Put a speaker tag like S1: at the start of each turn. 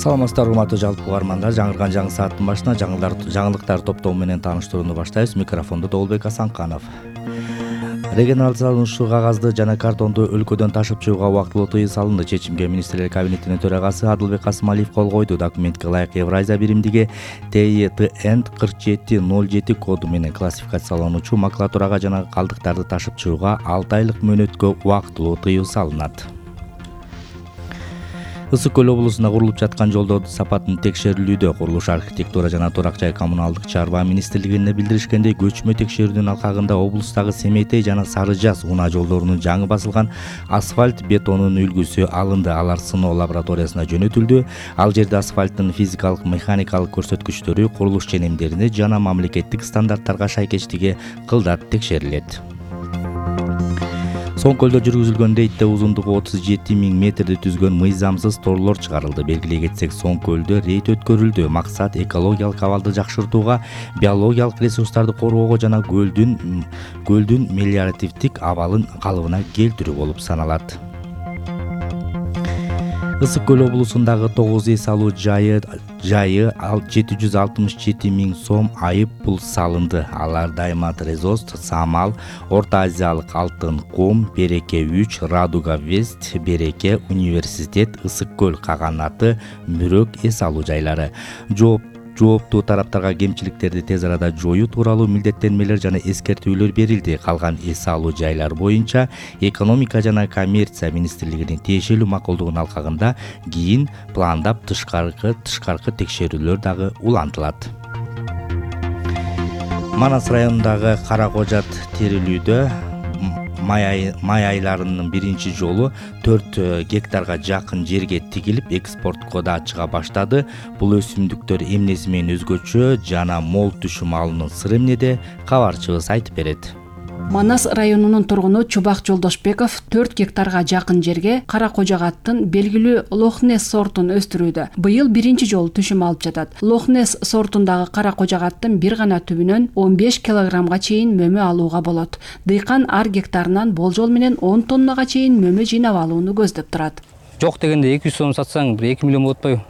S1: Саламатсыздар урматтуу жалпы угармандар, жаңырган жаңы сааттын башына жаңылыктар топтому менен тааныштырууну баштайбыз. Микрофондо Доолбек Асанканов. Регионалдык салынуучу кагазды жана картонду өлкөдөн ташып чыгууга убактылуу тыюу салынды. Чечимге Министрлер кабинетинин төрагасы Адылбек Касымалиев кол койду. Документке ылайык Евразия биримдиги ТИТН 4707 коду менен классификациялануучу макулатурага жана калдыктарды ташып чыгууга 6 айлык мөөнөткө убактылуу тыюу салынат. Ысык Көл облусунда курулуп жаткан жолдордун сапатын текшерилүүдө. Курулуш, архитектура жана турак жай коммуналдык чарба министрлигине билдиришкендей, көчмө текшерүүнүн алкагында облустагы Семетей жана Сары Жаз унаа жолдорунун жаңы басылган асфальт бетонун үлгүсү алынды. Алар сыноо лабораториясына жөнөтүлдү. Ал жерде асфальттын физикалык, механикалык көрсөткүчтөрү, курулуш ченемдерине жана мамлекеттик стандарттарга шайкештиги кылдат текшерилет. Соң көлдө жүргүзүлгөн рейдде узундугу 37 000 метрди түзгөн мыйзамсыз торлор чыгарылды. Белгилей кетсек, Соң көлдө рейд өткөрүлдү. Максат экологиялык абалды жакшыртууга, биологиялык ресурстарды коргоого жана көлдүн мелиоративдик абалын калыбына келтирүү болуп саналат. Ысык Көл облусундагы 9 эс алуу жайы 767 000 сом айып пул салынды. Алар Даймат Резост, Самал, Орто Азиялык Алтын Кум, Береке 3, Радуга Вест, Береке, Университет, Ысык Көл каганаты, Мүрөк эс алуу жайлары. Жооптуу тараптарга кемчиликтерди тез арада жоюу тууралуу милдеттенмелер жана эскертүүлөр берилди. Калган эс алуу жайлар боюнча экономика жана коммерция министрлигинин тиешелүү макулдугунун алкагында кийин пландап тышкаркы текшерүүлөр дагы улантылат. Манас районундагы Кара Кожат терилүүдө май айларынын биринчи жолу 4 гектарга жакын жерге тигилип экспортко да чыга баштады. Бул өсүмдүктөр эмнеси менен өзгөчө жана мол түшүм алуунун сыры эмнеде, кабарчыбыз айтып берет.
S2: Манас районунун тургуну Чубак Жолдошбеков 4 гектарга жакын жерге Кара Кожагаттын белгилүү Лохнес сортун өстүрүүдө. Быйыл биринчи жолу түшүм алып жатат. Лохнес сортундагы Кара Кожагаттын бир гана түбүнөн 15 килограммга чейин мөмө алууга болот. Дыйкан ар гектарынан болжол менен 10 тоннага чейин мөмө жыйнап алууну көздөп турат.
S3: Жок дегенде 200 сом сатсаң 1-2 миллион болот атпайбы?